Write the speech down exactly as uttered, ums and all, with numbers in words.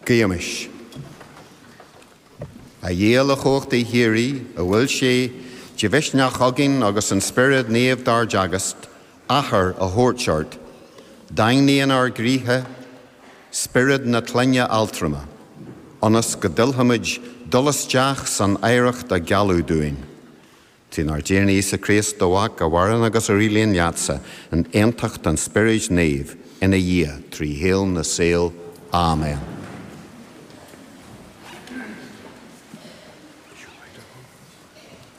Guímis. A Dhia uilechumhachtaigh shíoraí, a bhfuil sé de mhisneach againn agus an Spiorad Naomh dár dteagasc, Athair a thabhairt ort, daingnigh inár gcroíthe spiorad na clainne altrama, ionas go dtuillfimid dul isteach san oidhreacht a gealladh dúinn. Trínár dTiarna Íosa Críost do Mhac a mhaireann agus a rialaíonn leatsa in aontacht an Spioraid Naoimh ina Dhia trí shaol na saol. Amen.